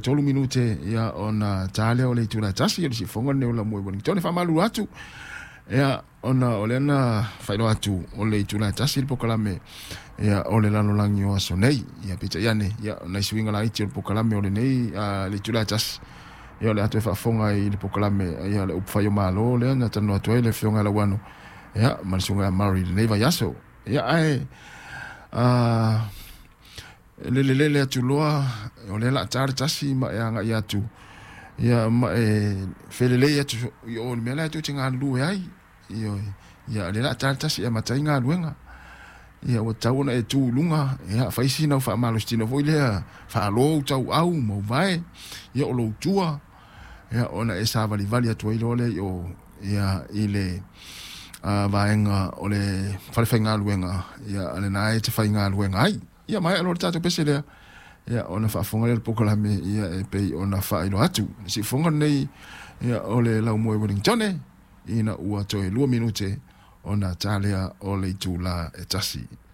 3 minute ia ona ta lea o le itula e 1. O le siufofoga lenei o Laumua i Wellington. E faamalulu atu ia ona o lea na faailoa atu o le itula e 1 le polokalame ia o le lalolagi o aso nei. Ia peitai ane ia o nai suiga laiti o le polokalame o lenei le itula e 1 ia o le a toe faafofoga i le polokalame ia le upufai o Malo lea na talanoa atu ai le afioga ia Lauano ia ma le susuga ia Murray i lenei vaiaso. Ia ae lelelele atu loa o lea o le a ta le 1 ma e agai atu ia ma e felelei atu i o i le mea la e tou te galulue ai. Ioe, ia o lea o le a ta le 1 e amata ai galuega. Ia ua tatau ona e tu i luga, ia fai sina au faamalositino foi lea, faalo ou tauau ma ou vae, ia o lou tua, ia ona e savalivali atu ai loa lea i o ia i le vaega o le falefaigaluega ia lena e te faigaluega ai. Ia maea loa le tatou pese lea, ia ona faafofoga lea i le polokalame ia e pei ona faailoa atu. Le siufofoga lenei ia o le Laumua i Wellington ina ua toe 2 minute ona ta lea o le itula e 1.